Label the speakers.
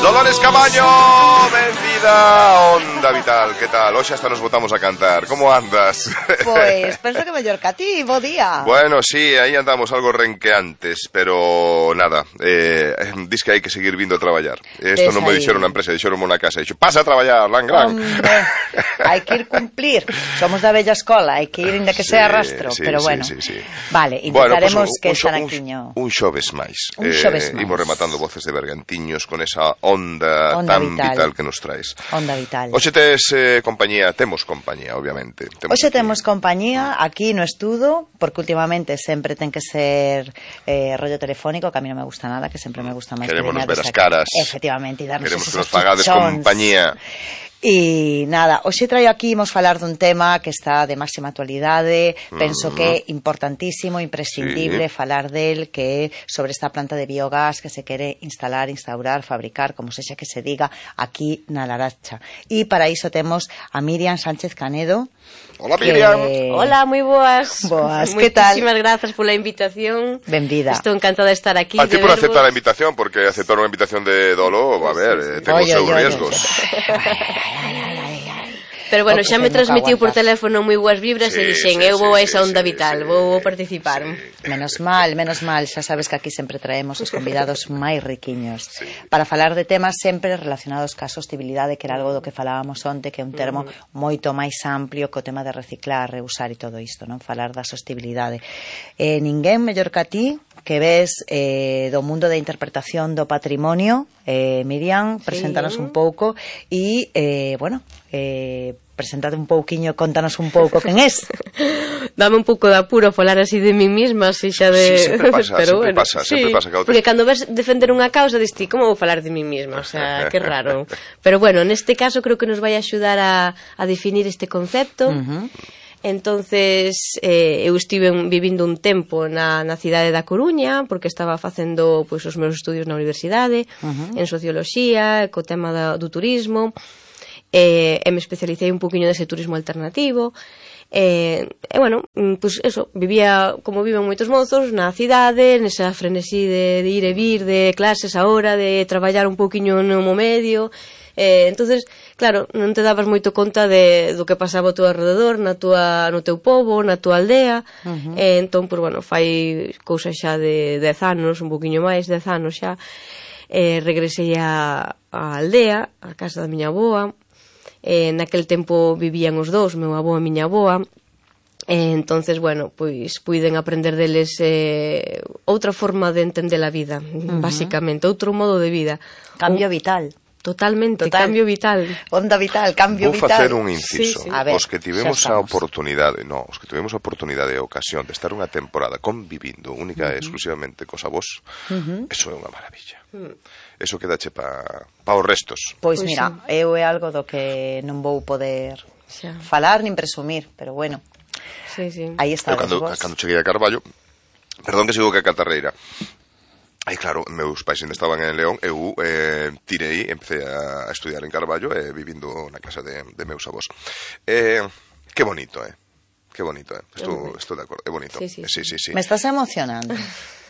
Speaker 1: Dolores Camaño, benvida a Onda Vital. Que tal? Hoxe hasta nos botamos a cantar. Como andas?
Speaker 2: Pois, penso que mellor que a ti, bo día.
Speaker 1: Bueno, sí, aí andamos algo renqueantes, pero nada, dis que hai que seguir vindo a traballar. Isto non me dixeron na empresa, dixeron na casa, dixo, pasa a traballar, lan, gran.
Speaker 2: Hombre, hai que ir cumplir. Somos da bella escola, hai que ir inda que sea rastro,
Speaker 1: sí,
Speaker 2: pero bueno.
Speaker 1: Sí.
Speaker 2: Vale, intentaremos
Speaker 1: pues
Speaker 2: que Xanaquiño...
Speaker 1: Un xoves máis.
Speaker 2: Un xoves máis.
Speaker 1: Imos rematando Voces de Bergantiños con esa onda tan vital que nos traes.
Speaker 2: Onda vital.
Speaker 1: Hoxe tes compañía, temos compañía, obviamente.
Speaker 2: Hoxe temos compañía aquí no estudo, porque últimamente sempre ten que ser rollo telefónico, que a mí non me gusta nada, que sempre me gusta máis.
Speaker 1: Queremos nos ver as caras.
Speaker 2: Efectivamente, e darnos
Speaker 1: queremos
Speaker 2: esos
Speaker 1: que nos pagades compañía.
Speaker 2: E nada, hoxe traio aquí, imos falar dun tema que está de máxima actualidade, penso que é importantísimo, imprescindible falar del, que é sobre esta planta de biogás que se quere instaurar, fabricar, como sexa que se diga, aquí na Laracha. E para iso temos a Miriam Sánchez Canedo.
Speaker 1: Hola, Miriam.
Speaker 3: Hola, moi boas.
Speaker 2: Boas, que tal?
Speaker 3: Moitísimas grazas pola invitación.
Speaker 2: Benvida.
Speaker 3: Estou encantada de estar aquí.
Speaker 1: A ti por aceptar a invitación, porque aceptar unha invitación de Dolo, a ver, ten os seus riesgos.
Speaker 3: Pero bueno, xa me transmitiu por teléfono moi boas vibras e dixen, eu vou a esa onda vital, vou participar.
Speaker 2: Menos mal, xa sabes que aquí sempre traemos os convidados máis riquiños para falar de temas sempre relacionados ca sostibilidade, que era algo do que falábamos onte, que é un termo moito máis amplio que o tema de reciclar, reusar e todo isto, non? Falar da sostibilidade. Ninguén mellor que a ti, que ves do mundo da interpretación do patrimonio, Miriam, preséntanos un pouco e, preséntate un pouquiño, contanos un pouco quen és.
Speaker 3: Dame un pouco de apuro falar así de mí misma, así xa de...
Speaker 1: Sí, sempre pasa, sempre pasa.
Speaker 3: Porque cando ves defender unha causa, diste, como vou falar de mí misma? O sea, que raro. Pero bueno, neste caso creo que nos vai axudar a definir este concepto. Entonces eu estive vivindo un tempo na cidade da Coruña, porque estaba facendo pois os meus estudios na universidade, en socioloxía, co tema do turismo, e me especialicei un poquinho dese turismo alternativo. Bueno, pues eso, vivía como viven moitos mozos na cidade, nesa frenesí de ir e vir, de clases a hora, de traballar un poquinho no medio. Entonces, claro, non te dabas moito conta do que pasaba ao teu alrededor, no teu pobo, na tua aldea. Entón, pues bueno, fai cousa xa de 10 anos, un poquinho máis, 10 anos xa, regresei á aldea, á casa da miña avoa. Naquel tempo vivían os dous, meu avó e miña avoa. Entonces, bueno, pois puiden aprender deles outra forma de entender a vida, basicamente, outro modo de vida.
Speaker 2: Cambio vital.
Speaker 3: Totalmente, cambio vital.
Speaker 2: Onda vital, cambio vital.
Speaker 1: Vou facer un inciso.
Speaker 2: Sí. Ver,
Speaker 1: os que tivemos a oportunidade e a ocasión de estar unha temporada convivindo única e exclusivamente cos avós, eso é unha maravilla. Eso quedache pa os restos.
Speaker 2: Pois mira, eu é algo do que non vou poder falar nin presumir, pero bueno. Aí está.
Speaker 1: Cando cheguei a Carballo, perdón que sigo que a catarreira. Aí, claro, meus pais ainda estaban en León, eu tirei, empecé a estudiar en Carballo, vivindo na casa de meus avós. Que bonito, que bonito, estou de acordo, é bonito.
Speaker 3: Sí.
Speaker 1: Sí.
Speaker 2: Me estás emocionando.